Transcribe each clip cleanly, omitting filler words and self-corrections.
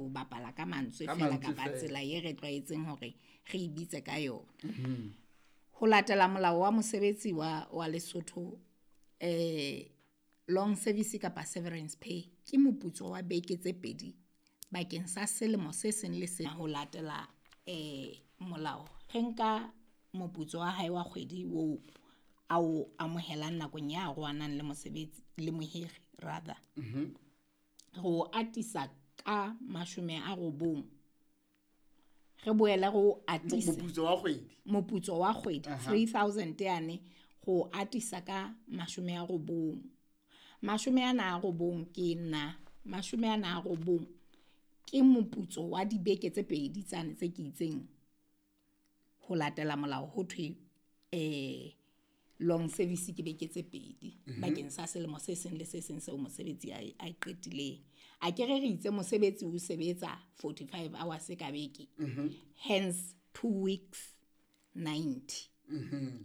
Ho bapala ka mantswe Ka fela mantswe kapa fela. Tsela ye re tlwaetseng hore re e bitse ka yona. Ho latela molao wa mosebetsi wa Lesotho, long service kapa severance pay ke moputso wa beke tse pedi bakeng sa selemo se seng le se ho latela molao. Re nka moputso wa hae wa kgwedi oo a o amohelang nakong ya arohanang le mosebetsi le mohiri rather. Re o atisa ka 90. Re boele re o atise Moputso wa kgwedi. Moputso wa kgwedi 3000 yane go atisa ka 90. 90 ke nna 90 ke moputso wa dibeke tse pedi tsane tse ke itseng ho latela molao ho thwe long service ke beke tse pedi bakeng sa selemo se seng le se seng seo mosebetsi a e qetileng. A ke re re itse mosebetsi o sebetsa 45 hours ka beke. Hence 2 weeks 90.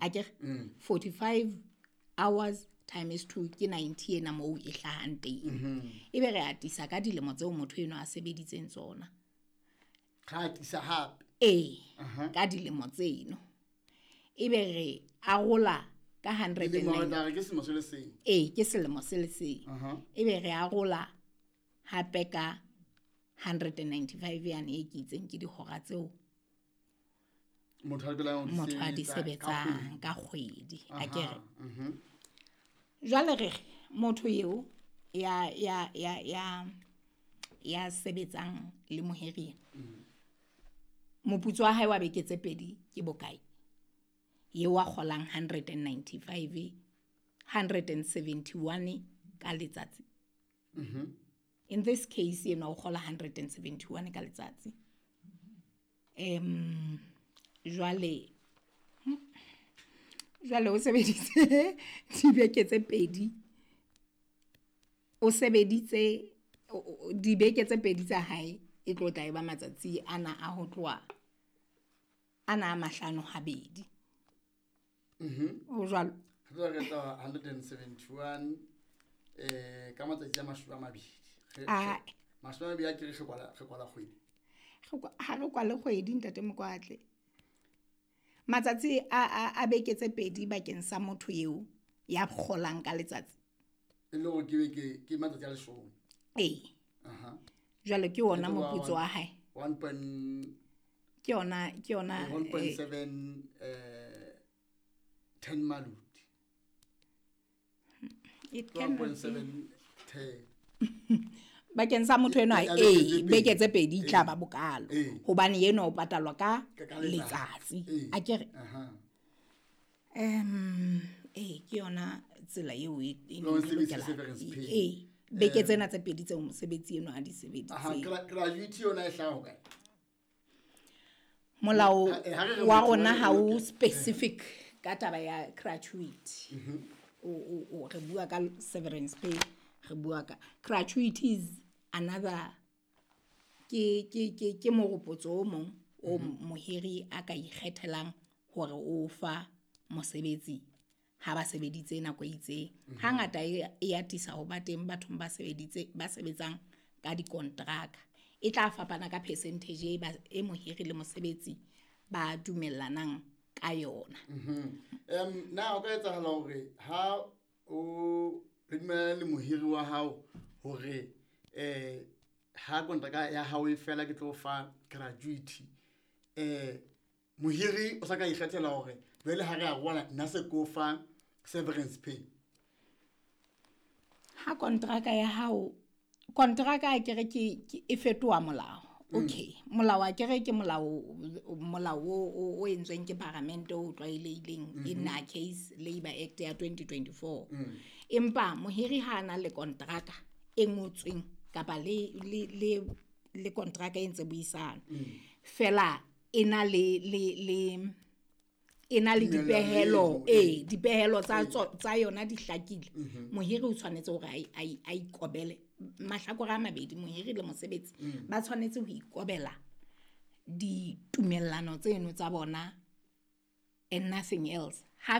A ke re 45 hours times 2 ke 90 ena moo e hlahang teng. Ebe re atisa ka dilemo tseo motho eno a sebeditseng tsona. Ra atisa hape. Ee, ka dilemo tseno. Ebe re arola ka hundred and Dilemo re nine. tla re ke selemo se le seng. Ee, ke selemo se le seng. Ebe re arola hape ka 195 yane e ke itseng ke dihora tseo Motho a lokelang ho di motho a di sebetsa ka sebetsang kgwedi. Ka kgwedi. A ke re. Jwale re re motho eo ya sebetsang le mohiri, moputso wa hae wa beke tse pedi ke bokae? Eo a kgolang 195, 171 ka letsatsi. In this case ena o kgola 171 ka letsatsi. Jwale o sebeditse dibeke tse pedi. O sebeditse dibeke tse pedi tsa hae e tlo tla e ba matsatsi ana a ho tloha ana a mahlano habedi. Ho jwalo. Re tlo re etsa 171 ka matsatsi a 20. Ah. 20 a ke re re kwala kgwedi. Ha re kwale kgwedi ntate Mokwatle. Matsatsi a beke tse pedi bakeng sa motho eo ya kgolang ka letsatsi. E le hore ke beke, ke matsatsi a 10. Ee. Jwale ke ona E tlo ba moputso wa hae. one point Ke yona, one point seven, ten maluti. It Ke one cannot point be. seven ten. Bakeng sa motho enwa, Ya beke ee, tse pedi. beke tse pedi e tla Ee. ba bokalo. Ee. Hobane eno o patalwa ka Ka letsatsi. letsatsi. Ee. A ke re? Ee, ke yona tsela eo e Long neng e service lokela. severance pay. Ee, beke tsena tse pedi tseo mosebetsi eno a di sebeditseng. Gratuity yona e hlaha hokae? Molao Ha re re wa motho rona wa ha o lokela. specific ka taba ya gratuity. Re bua ka severance pay, re bua ka gratuity is another ke moropotso o mong o mohiri a ka ikgethelang hore o fa mosebetsi ha ba sebeditse nako e itseng. Hangata e atisa ho ba teng bathong ba sebetsang ka dikontraka. E tla fapana ka percentage e mohiri le mosebetsi ba dumellanang ka yona. Na o ka etsahala hore ha o le dumellana le mohiri wa hao hore ha kontraka ya hao e fela ke tlo fa gratuity, mohiri o sa ka ikgethela hore jwale ha re a roala nna se ko fa severance pay? Ha kontraka ya hao, kontraka a kere ke e fetoha molao. Okay, molao a kere ke molao o entsweng ke parliament o tlwaelehileng in our case Labour Act ya 2024. Empa mohiri ha ana le kontraka e ngotsweng kapa le kontraka e ntse buisana. Fela e na le e na le Tumellano dipehelo, eno, ee, dipehelo tsa yona di hlakile. Mohiri o tshwanetse hore a ikobele. Mahlakore a mabedi, mohiri le mosebetsi, ba tshwanetse ho ikobela ditumellano tseno tsa bona and nothing else. Ha